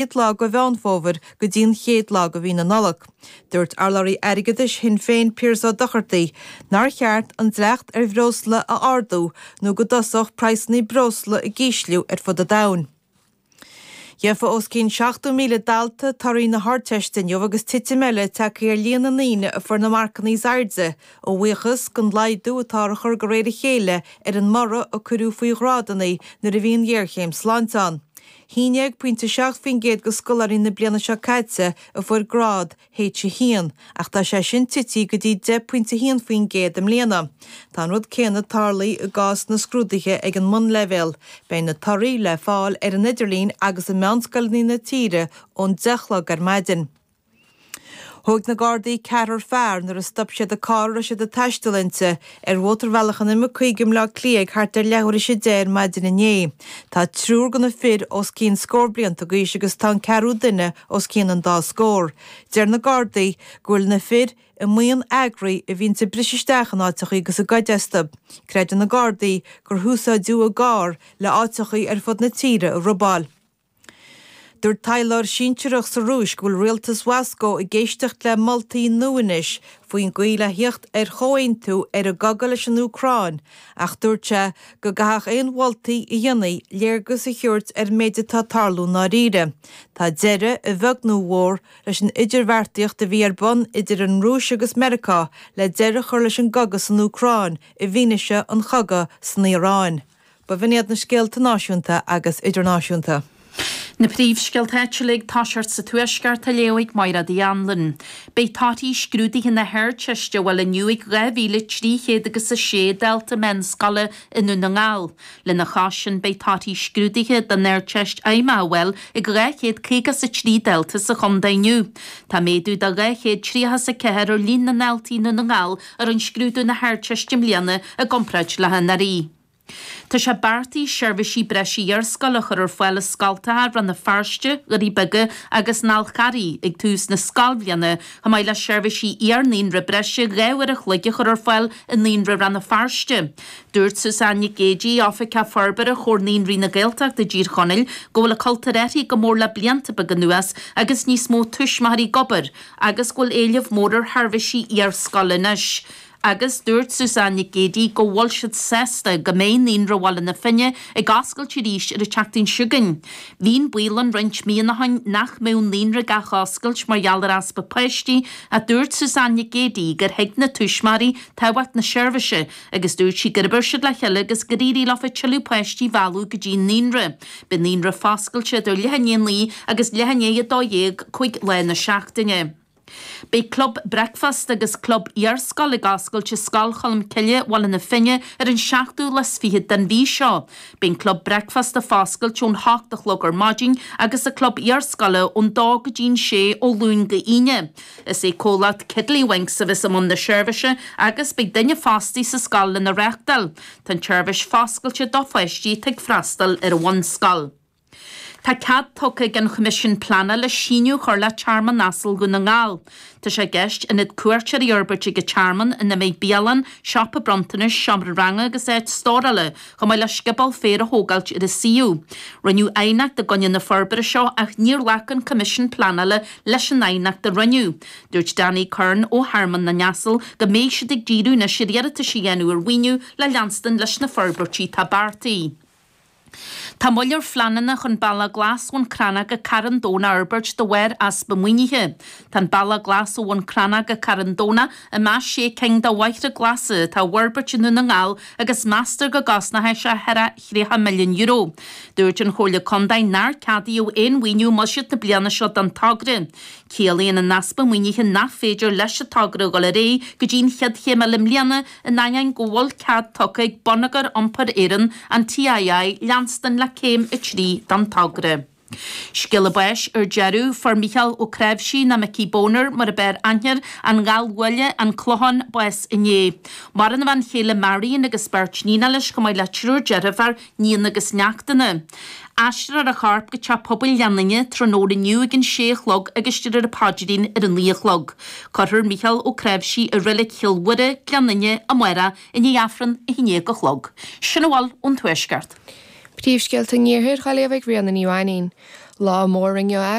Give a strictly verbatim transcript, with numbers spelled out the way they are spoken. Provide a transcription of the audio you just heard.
chéad lá de Mheán Fómhair go dtí an chéad lá de mhí na Nollag. Dúirt urlabhraí airgeadais Shinn Féin Pearse Ó Dochartaigh nár cheart an dleacht ar bhreosla a ardú nó go dtosódh praghsanna breosla ag ísliú ar fud an domhain. Gheofa os cionn seachtó míle dalta torthaí na hArdteiste inniu agus titim eile tagtha ar líon na ndaoine a fuair na marcanna is airde, a bhuíochas don laghdú atá á chur de réir a chéile ar an mborradh a cuireadh faoi ghrádanna nuair a bhí an ghéarchéim sláinte ann. haon déag pointe seacht faoin gcéad de scoláirí na bliana seo caite a fuair grád H a haon, ach tá sé sin tite go dtí deich pointe haon faoin gcéad i mbliana. Tá an rud céanna tarlaithe i gcás na scrúduithe ag an mbunleibhéal. Beidh na torthaí le fáil ar an idirlíon agus i meánscoileanna na tíre ón deich a chlog ar maidin. Thóg na Gardaí ceathrar fear nuair a stop siad an carr a raibh siad ag taisteal inti ar mhótarbhealach an M cúig i mBleá Cliath ag thart ar leathuair tar éis a deich ar maidin inné. Tá triúr de na fir os cionn scór blianta d'aois agus tá an ceathrú duine os cionn an dá scór. Deir na Gardaí go bhfuil na fir i mbuíon eagraithe a bhíonns ag briseadh isteach in áiteachaí agus ag goid astu. Creideann na Gardaí gur húsáideadh an carr le áiteachaí ar fud na tíre a robáil. Dúirt taidhleoir sinsearach sa Rúis go bhfuil rialtas Mhoscó ag éisteacht le moltaí nua anois faoin gcaoi le theacht ar chomhaontú ar an gcogadh leis an Úcráin, ach dúirt sé go gcaithfeadh aon mholtaí a dhéanfaí léargas a thabhairt ar an méid atá ag tarlú i ndáiríre. Tá deireadh, a bheag nó a mhór, leis an idirbheartaíocht a bhí ar bun idir an Rúis agus Meiriceá le deireadh a chur leis an gcogadh san Úcráin i bhfianaise an chogaidh san Iaráin. B'in iad na scéalta náisiúnta agus idirnáisiúnta. Na príomhscéalta áitiúla ag toiseacht sa Tuaisceart á léamh ag Máire Uí Anluain. Beidh torthaí scrúduithe na hArdteiste á bhfáil inniu ag dhá mhíle trí chéad agus a sé dalta meánscoile i nDún na nGall. Lena chois sin beidh torthaí scrúduithe don Ardteist Fheidhmeach á bhfáil ag dhá chéad caoga is a trí dalta sa chontae inniu. Tá méadú de dhá chéad tríocha is a ceathair ar líon na ndaltaí i Ndún na nGall a rinne scrúdú na hArdteiste i mbliana i gcomparáid le hanuraidh. Tá sé beartaithe seirbhísí breise iarscoile a chur ar fáil i scoltacha Rann na Feirste, Dhoirí Beaga agus an Fhál Carraigh ag tús na scoilbhliana, chomh maith le seirbhísí iar-naíonra breise dhá uair a chloig a chur ar fáil i Naíonra Rann na Feirste. Dúirt Suzanne Nic Géidigh, Oifigeach Forbartha Chomhar Naíonraí na Gaeltachta i dTír Chonaill, go bhfuil an cultúr athraithe go mór le blianta beaga anuas agus níos mó tuismitheoirí ag obair agus go bhfuil éileamh mór ar sheirbhísí iarscoile anois. Agus dúirt Suzanne Nic Géidigh go bhfuil siad sásta go mbeidh Naíonra Bhaile na Finne ag oscailt arís ar an tseachtain seo chugainn. Bhí an baol ann roinnt míonna ó shin nach mbeadh an naíonra ag athoscailt mar gheall ar easpa páistí ach dúirt Suzanne Nic Géidigh gur thuig na tuismitheoirí tábhacht na seirbhíse agus dúirt sí gur oibir siad le chéile agus gur éirigh leofa tuilleadh páistí a mhealladh go dtí an naíonra. Beidh an naíonra foscailte idir leath i ndiaidh a naoi agus leath i ndiaidh a dó dhéag cúig lá na seachtaine. Beidh Club Bricfeasta agus Club Iarscoile ag oscailt i Scoil Cholmcille, Bhaile na Finne ar an seachtú lá is fiche den mhí seo. Beidh an Club Bricfeasta foscailte ón hocht a chlog ar maidin agus an Club Iarscoile ón dó go dtí'n sé ó Luan go hAoine. Is é comhlacht Kiddlywinks a bheas i mbun na seirbhíse agus beidh duine fostaithe sa scoil lena reáchtáil. Tá an tseirbhís foscailte do pháistí atá ag freastal ar an bhunscoil. Tá cead tugtha ag an Choimisiún Pleanála síneadh a chur le Tearmann Asal Dhún na nGall. Tá sé i gceist ionad cuairteoirí a fhorbairt ag an tearmann ina mbeidh bialann, siopa bronntanais, seomra ranga agus áit stórála, chomh maith le scioból féir a thógáilt ar an suíomh. Rinneadh aighneacht i gcoinne na forbartha seo ach níor ghlac an Coimisiún Pleanála leis an aighneacht a rinneadh. Dúirt Danny Curran ó Thearmann na nAsal go mbeidh siad ag díriú anois ar iarratais a dhéanamh ar mhaoiniú le leanstan leis na forbairtí atá beartaithe. Tá moill ar phleananna chun Bealach Glas Bhun Cranncha go Carn Domhnach a fhorbairt de bharr easpa maoinithe. Tá an Bealach Glas ó Bhun Cranncha go Carn Domhnach i measc sé cinn de bhóithre glasa atá á bhforbairt i nDún na nGall agus meastar go gcosnóidh sé thar a thríocha milliún euro. Dúirt an Chomhairle Contae nár ceadaíodh aon mhaoiniú i mbuiséad na bliana seo don togra. Ciallaíonn an easpa maoinithe nach féidir leis an togra a dhul ar aghaidh go dtí an chéad chéim eile i mbliana, in ainneoin go bhfuil cead tugtha ag Bonneagar Iompair Éireann, an TII, leanstan le céim a trí den togra. Scéala báis ar deireadh, fuair Mícheál Ó Cnáimhsí, nó Micí Boner mar a b'fhearr aithne air, An Ghallbhuaile, An Clochán, bás inné. Maireann a bhean chéile Marion agus beirt níonacha leis chomh maith le triúr deirfiúr, níon agus neachtanna. Aistreofar a chorp go Teach Pobail Ghleann Fhinne tráthnóna inniu ag an sé a chlog agus déarfar an paidrín ar a naoi a chlog. Cuirfear Mícheál Ó Cnáimhsí i Reilig Chill Mhuire, Gleann Fhinne, amárach i ndiaidh Aifreann a haon déag a chlog. Sin a bhfuil ón Tuaisceart. Príomhscéalta an Iarthair á léamh ag Ríona Ní Mhainín. Lá mór inniu